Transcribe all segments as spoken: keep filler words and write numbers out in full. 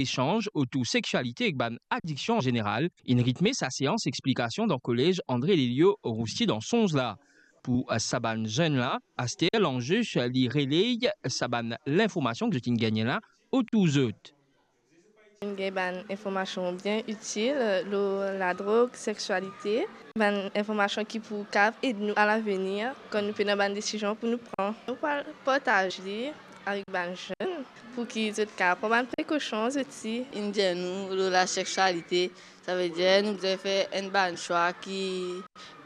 esanz otour sexualité ek bann adiksion an zeneral, inn ritme sa seans explikasion dan kolez André Lelio Roussy dan Sonz la. Pou, eh, sa bann zenn la, aster lanze, eh, li reley sa bann linformasion ki zot inn gagne la otour zot. Inn gagn bann informasion bien itil, eh, lor ladrog, sexualité, bann informasion ki pou kav ed nou a lavenir, kan nou pena bann desizion pou nou pran. Nou pou al partaz li avek bann zenn, pou ki zot kav pran bann prekosion zot osi. Inn dir nou lor lasexualité, savedir nou bizin fer enn bann swa ki,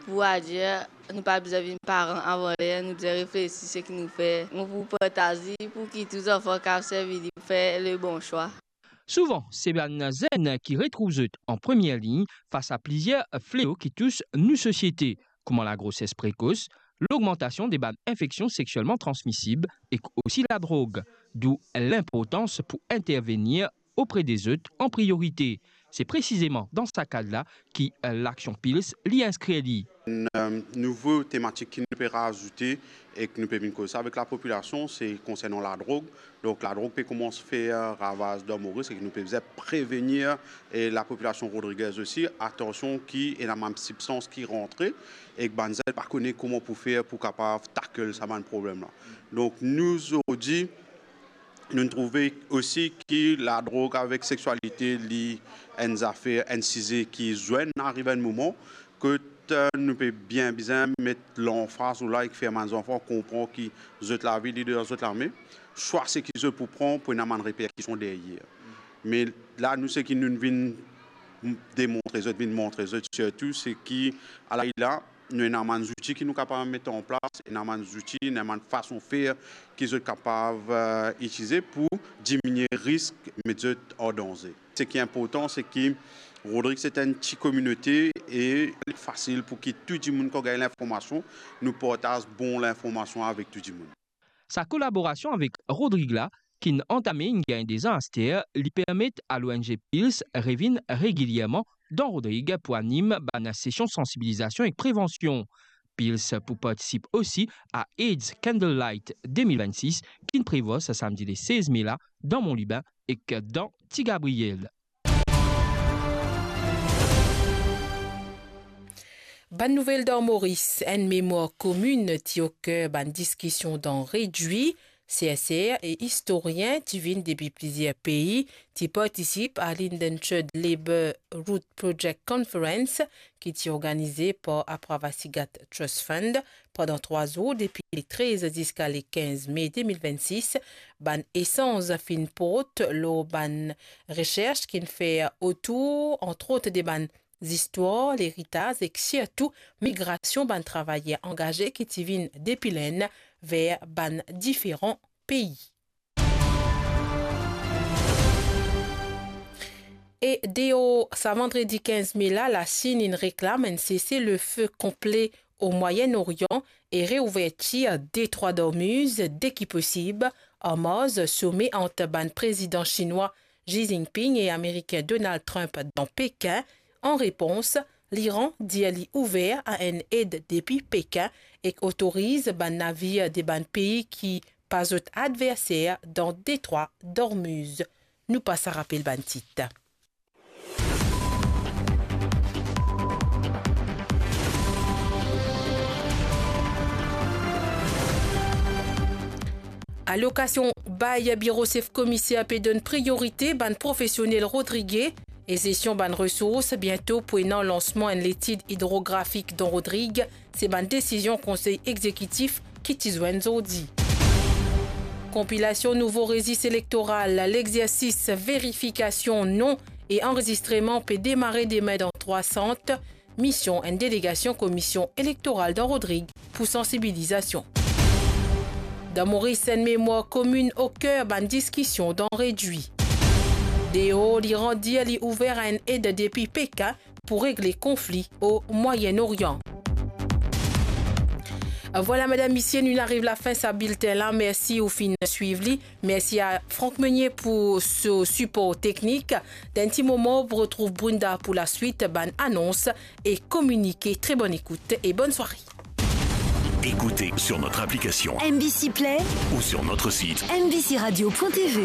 pou dir, nou pa bizin vinn paran avan ler, nou bizin reflesi seki nou fer. Nou pou partaz li pou ki tou zanfan kav servi li pou fer lebon swa. Souvan, se bann zenn ki retrouv zot an premie lign fas a plizier fleo ki tous nou sosiete, kouma lagroses prekos, logmantasion de bann infeksion sexielman transmisib ek osi ladrog, dou linportans pou intervenir opre de zot an priorite. Se presizeman dan sa kad la ki, eh, laksion Pils li inskrir li. Enn, eh, nouvo tematik ki nou pe razoute ek nou pe vinn koz sa avek lapopilasion, se konsernan ladrog. Donk, ladrog pe koumans fer ravaz dan Moris ek nou pe bizin prevenir, e lapopilasion rodrigez osi, atansion ki ena bann sibstans ki rantre ek bann zenn pa kone kouma pou fer pou kapav tackle sa bann problem la. Donk, nou zordi, nou trouve osi ki ladrog avek sexualité, li enn zafer, enn size ki zwenn ariv enn moman kot, eh, nou pe bien bizin met lanfaz lor la ek fer bann zanfan konpran ki zot lavi li dan zot lame. Swa seki zot pou pran pou ena bann reperkision deryer. Me la, nou, seki nou vinn demontre zot, vinn montre zot sirtou, se ki, ala li la, nou ena bann zouti ki nou kapav met an plas, ena bann zouti, ena bann fason fer ki zot kapav, eh, itilize pou diminie risk met zot an danze. Seki inportan, se ki Rodrig se enn ti kominote e li fasil pou ki tou dimoun kan gagn linformasion, nou partaz bon linformasion avek tou dimoun. Sa kolaborasion avek Rodrig la, ki'nn antame inn gagn de zan aster, li permet a l'O N G Pils revinn regilierman dan Rodrig pou anim bann sesion sansibilizasion ek prevansion. Pils pou partisip osi a AIDS Candlelight de mil vennsis, ki'nn prevwa sa samdi le sez me la dan Mont Lubin ek dan Ti Gabriel. Bann nouvel dan Moris, enn memwar komin ti oker bann diskision dan Redwi. Sersar e istorien ti vinn depi plizier pei ti partisip a l'Indentured Labour Root Project Conference ki ti organize par Apravasigat Trust Fund pandan trwa zour, depi le trez ziska le kinz me de mil vennsis. Bann esanz finn port lor bann resers ki'nn fer otour, antrot, de bann zistwar, leritaz ek sirtou migrasion bann travayer angaze ki ti vinn depi Lenn ver bann diferan pei. E deor sa vandredi kinz me la, Lasinn inn reklam enn sese-le-fe konple o Mwayenn Orian e reouvertir Detrwa Dormuz deki posib, an mars some ant bann prezidan sinwa Xi Jinping e Amerikin Donald Trump dan Pekin. An repons, Liran dir li ouver a enn ed depi Pekin ek otoriz bann navir de bann pei ki pa zot adverser dan Detrwa Dormuz. Nou pas a rapel bann tit. Alokasion bay biro sef komiser pe donn priyorite bann profesionel rodrige e zesion bann resours. Biento pou ena lansman enn letid idrografik dan Rodrig. Se bann desizion konsey exekitif ki ti zwenn zordi. Konpilasion nouvo rezis elektoral, lexersis verifikasion non e anrezistreman pe demare demin dan trwa sant. Mision enn delegasion Komisyon Elektoral dan Rodrig pou sansibilizasion. Dan Moris, enn memwar komin oker bann diskision dan Redwi. Deor, Liran dir li ouver a enn ed depi Pekin pou regle konfli o Mwayen Orian. Vwala, medam, misie, nou ariv lafin sa bilten la. Mersi ou finn swiv li. Mersi a Franck Meunier pou so sipor teknik. Dan enn ti moman, ou pou retrouv Brunda pou laswit bann anons e kominike. Très bonne écoute et bonne soirée. Écoutez sur notre application M B C Play ou sur notre site M B C radio point T V.